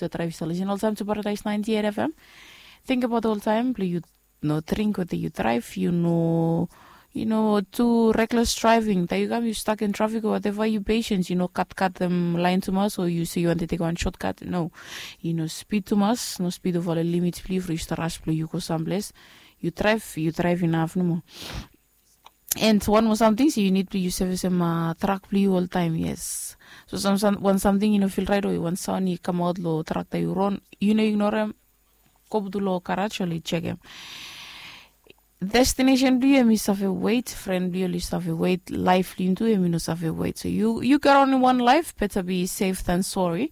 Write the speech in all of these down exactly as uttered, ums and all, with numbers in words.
Yu draiv yu stap lisin oltaim tu Paradise ninety eight F M. Think about oltaim blong yu no dring wetem yu draiv, yu no yu no tu reckless driving. Taim yu kam yu stuck in traffic o whatever, yu patience, yu no katkatem lain tumas o yu se yu wanted take one shortcut. No, yu no speed tumas, no speed over the limit blong yu for yu stap rush blong yu go samples. Yu draiv, yu draiv inaf nomo. And wan moa samting se yu nid blong yu sevisem trak blong yu oltaim, yes. So wan samting i no fil rait o wan saon i kamaot long trak taim yu ron, yu no ignorem, go putum long garaj oli jekem. Destination blong yu em i save wet, fren blong yu oli save wet, laif blong yu tu em i no save wet. So yu yu gat only one life, better be safe than sorry.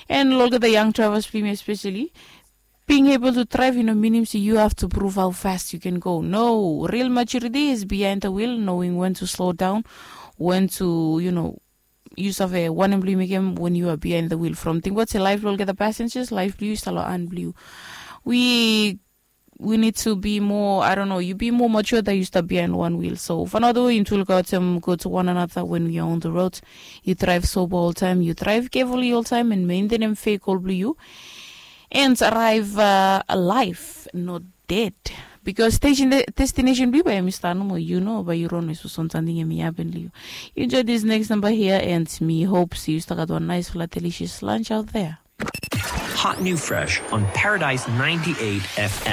And olgeta young drivers blong yumi especially, being able to drive i no minim se you have to prove how fast you can go. No, real maturity is behind the wheel, knowing when to slow down, when to, you know, yu save wanem blong yu mekem when you are behind the wheel. From tingbaot se laif blong olgeta passengers, laif blong yu i stap long han blong yu. We we need to be more, I don't know, yu be more mature than yu stap behind one wheel. So fanau the way yu tu lukaotem go to one another when we are on the road. Yu drive sober oltaim, yu drive carefully oltaim and maintainem vehicle blong yu. And arrive uh, alive, not dead. Because station de- destination blong yu bai em i start nomo, yu no bai yu ron, so something em i happen blong yu. You enjoy this next number here and me hope se yu start gat one nice fala delicious lunch out there. Hot new fresh on Paradise ninety-eight F M.